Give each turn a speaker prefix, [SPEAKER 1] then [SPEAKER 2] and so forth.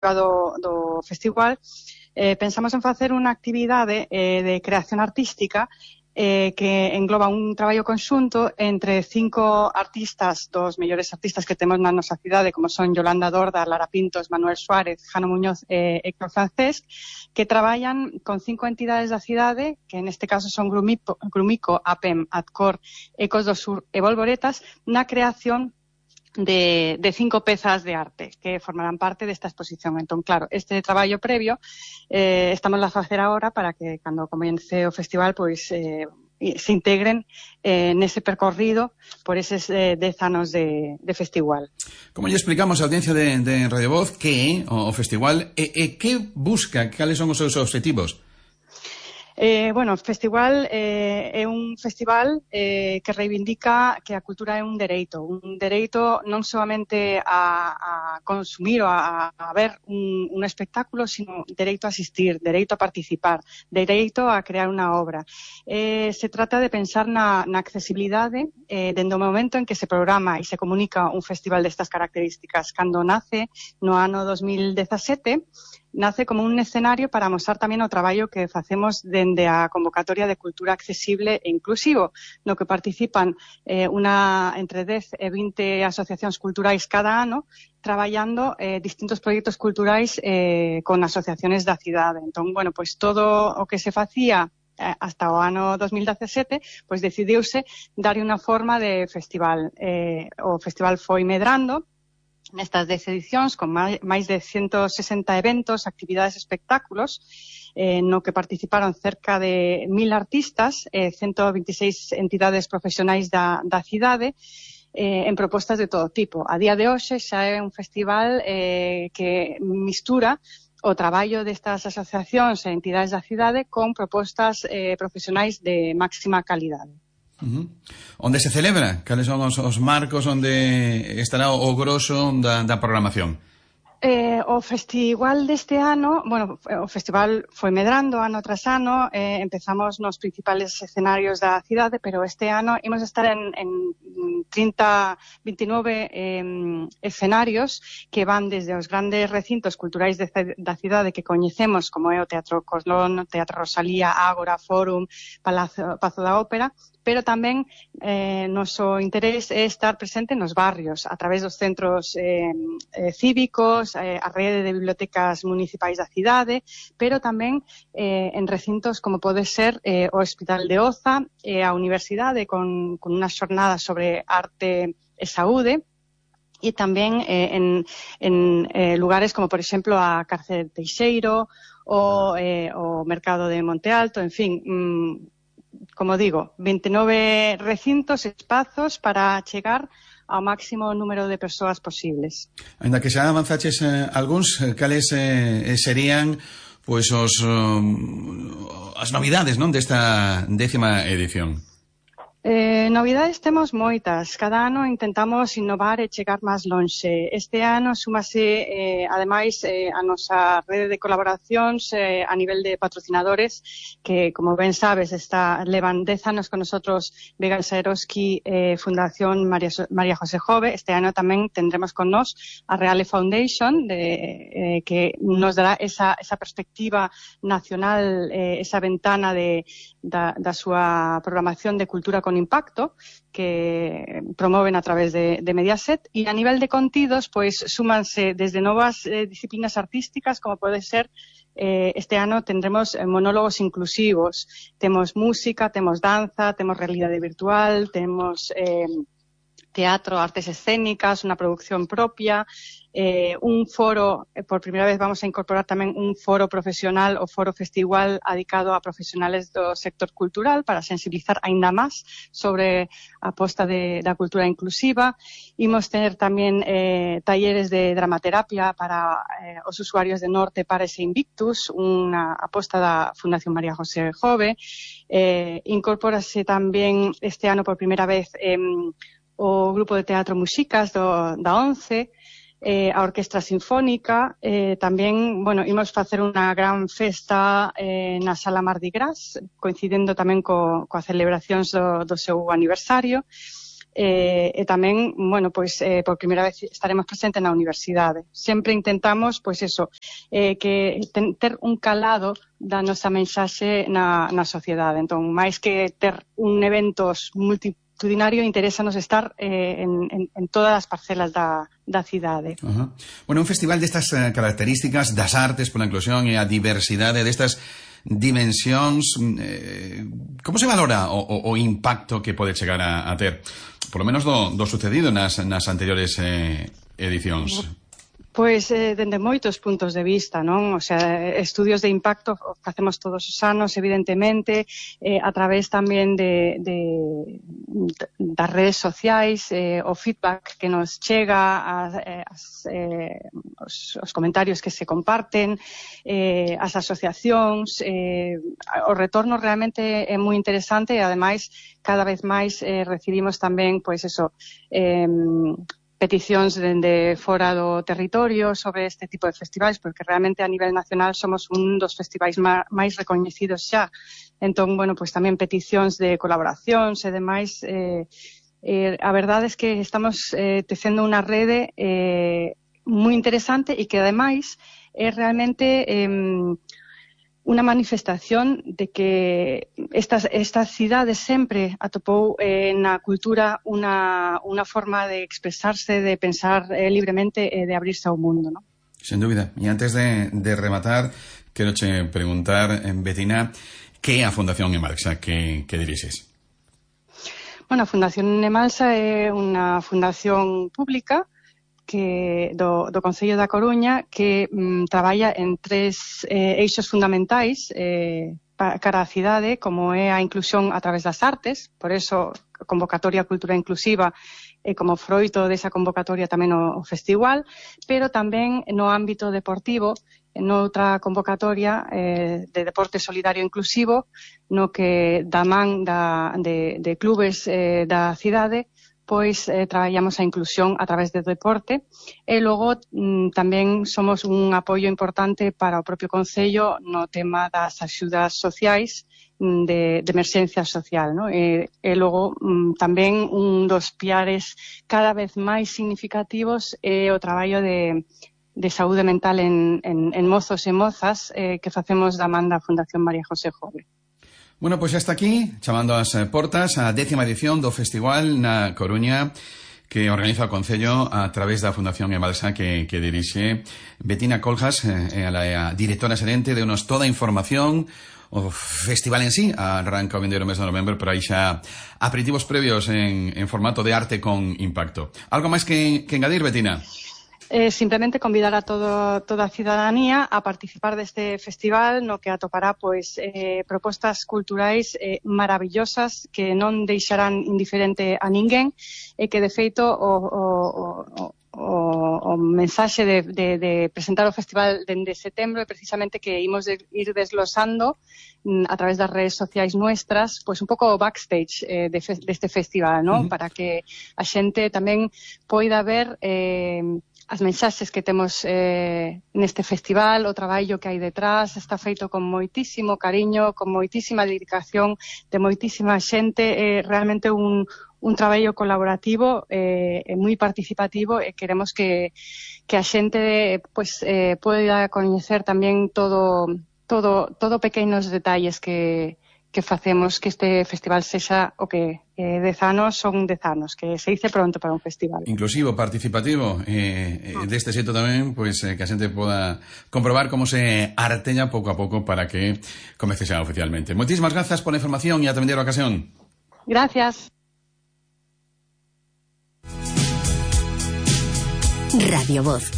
[SPEAKER 1] do festival, pensamos en facer unha actividade de creación artística que engloba un traballo conxunto entre 5 artistas, dos mellores artistas que temos na nosa cidade, como son Yolanda Dorda, Lara Pintos, Manuel Suárez, Jano Muñoz e Héctor Francés, que traballan con 5 entidades da cidade, que neste caso son Grumico, APEM, Adcor, Ecos do Sur e Volvoretas, na creación de 5 pezas de arte que formarán parte desta exposición. Entón, claro, este traballo previo estamos a facer agora para que cando comece o festival pois se integren nese percorrido por eses 10 anos de festival.
[SPEAKER 2] Como lle explicamos á audiencia de Radio Voz que é o festival e que busca, cales son os seus objetivos?
[SPEAKER 1] Bueno, o festival é un festival que reivindica que a cultura é un dereito non solamente a consumir ou a ver un espectáculo, sino dereito a asistir, dereito a participar, dereito a crear unha obra. Se trata de pensar na accesibilidade dende o momento en que se programa e se comunica un festival destas características. Cando nace no ano 2017, nace como un escenario para mostrar tamén o traballo que facemos dende a convocatoria de cultura accesible e inclusivo, no que participan entre 10 e 20 asociacións culturais cada ano, traballando distintos proxectos culturais con asociaciones da cidade. Entón, bueno, pois todo o que se facía hasta o ano 2017, pois decidiuse darlle unha forma de festival. O festival foi medrando nestas 10 edicións, con máis de 160 eventos, actividades, espectáculos, no que participaron cerca de 1000 artistas, 126 entidades profesionais da cidade, en propostas de todo tipo. A día de hoxe xa é un festival que mistura o traballo destas asociacións e entidades da cidade con propostas profesionais de máxima calidade.
[SPEAKER 2] Onde se celebra? Cales son os marcos onde estará o groso da programación?
[SPEAKER 1] O festival deste ano, bueno, o festival foi medrando ano tras ano, empezamos nos principales escenarios da cidade, pero este ano imos estar en 29 escenarios que van desde os grandes recintos culturais da cidade que coñecemos, como é o Teatro Coslón, Teatro Rosalía, Ágora, Fórum, Pazo da Ópera, pero tamén noso interés é estar presente nos barrios, a través dos centros cívicos, a rede de bibliotecas municipais da cidade, pero tamén en recintos como pode ser o Hospital de Oza, a Universidade con unha xornada sobre arte e saúde, e tamén en lugares como, por exemplo, a Cárcere de Teixeiro, o Mercado de Monte Alto, en fin, como digo, 29 recintos, espazos para chegar ao máximo número de persoas posibles.
[SPEAKER 2] Ainda que xa avanzaches algúns, cales serían pois as novidades, non, desta 10ª edición?
[SPEAKER 1] Novidades temos moitas. Cada ano intentamos innovar e chegar máis lonxe. Este ano súmase, ademais, a nosa rede de colaboracións a nivel de patrocinadores que, como ben sabes, levan 10 anos con nosotros Vega Saeroski, Fundación María José Jove. Este ano tamén tendremos con nos a Reale Foundation, que nos dará esa perspectiva nacional, esa ventana da súa programación de cultura con impacto que promoven a través de Mediaset, e a nivel de contidos pois súmanse desde novas disciplinas artísticas, como pode ser este ano tendremos monólogos inclusivos, temos música, temos danza, temos realidade virtual, temos teatro, artes escénicas, unha producción propia, un foro, por primeira vez vamos a incorporar tamén un foro profesional, o foro festival dedicado a profesionales do sector cultural para sensibilizar aínda máis sobre a aposta da cultura inclusiva. Imos ter tamén talleres de dramaterapia para os usuarios de Norte Pares e Invictus, unha aposta da Fundación María José Jove. Incorpórase tamén este ano por primeira vez o grupo de teatro Muxicas da ONCE, a Orquestra Sinfónica, tamén, bueno, imos facer unha gran festa na Sala Mardi Gras, coincidendo tamén coa celebracións do seu aniversario. e tamén, bueno, pois por primeira vez estaremos presentes na universidade. Sempre intentamos, pois eso, que ter un calado da nosa mensaxe na sociedade. Entón, máis que ter un eventos multitudinario, interésanos estar en todas as parcelas da cidade.
[SPEAKER 2] Bueno, un festival destas características das artes pola inclusión e a diversidade destas dimensións, como se valora o impacto que pode chegar a ter, por lo menos do sucedido nas anteriores edicións?
[SPEAKER 1] Pois, dende moitos puntos de vista, non? O sea, estudios de impacto facemos todos os anos, evidentemente, a través tamén das redes sociais, o feedback que nos chega, os comentarios que se comparten, as asociacións, o retorno realmente é moi interesante e, ademais, cada vez máis recibimos tamén, pois eso, peticións dende fora do territorio sobre este tipo de festivais, porque realmente a nivel nacional somos un dos festivais máis recoñecidos xa. Entón, bueno, pois tamén peticións de colaboracións e demais. A verdade é que estamos tecendo unha rede moi interesante e que, ademais, é realmente unha manifestación de que esta cidade sempre atopou na cultura unha forma de expresarse, de pensar libremente e de abrirse ao mundo, ¿no?
[SPEAKER 2] Sen dúbida. E antes de rematar, quero che preguntar, Betina, que é a Fundación Emalsa que dirixes?
[SPEAKER 1] Bueno, a Fundación Emalsa é unha fundación pública do Concello da Coruña que traballa en 3 eixos fundamentais cara á cidade, como é a inclusión a través das artes, por eso a convocatoria Cultura Inclusiva e como froito desa convocatoria tamén o festival, pero tamén no ámbito deportivo, noutra convocatoria de deporte solidario inclusivo, no que da man de clubes da cidade, pois traballamos a inclusión a través do deporte e logo tamén somos un apoio importante para o propio Concello no tema das axudas sociais de emerxencia social, ¿no? E logo tamén un dos piares cada vez máis significativos é o traballo de saúde mental en mozos e mozas que facemos da man da Fundación María José Jove.
[SPEAKER 2] Bueno, pois hasta aquí, chamando as portas a 10ª edición do festival na Coruña que organiza o Concello a través da Fundación Emalsa que dirixe Betina Coljas, a directora xerente, de unos toda a información. O festival en sí arranca o vindeiro mes de novembro, pero aí xa aperitivos previos en formato de arte con impacto. Algo máis que engadir, Betina?
[SPEAKER 1] Simplemente convidar a toda a cidadanía a participar deste festival no que atopará pois propostas culturais maravillosas que non deixarán indiferente a ninguén e que, de feito, o mensaxe de presentar o festival dende setembro é precisamente que imos ir desglosando a través das redes sociais nuestras, pois un pouco o backstage deste festival, ¿no? Para que a xente tamén poida ver as mensaxes que temos neste festival, o traballo que hai detrás, está feito con moitísimo cariño, con moitísima dedicación de moitísima xente, realmente un traballo colaborativo e moi participativo e queremos que a xente pois poida coñecer tamén todo pequenos detalles que facemos que este festival sexa o que 10 anos son 10 anos, que se dice pronto para un festival.
[SPEAKER 2] Inclusivo, participativo, deste xeito tamén, pois que a xente poda comprobar como se artella pouco a pouco para que comece xa oficialmente. Moitísimas grazas pola información e a atender a ocasión.
[SPEAKER 1] Gracias.
[SPEAKER 3] Radio Voz.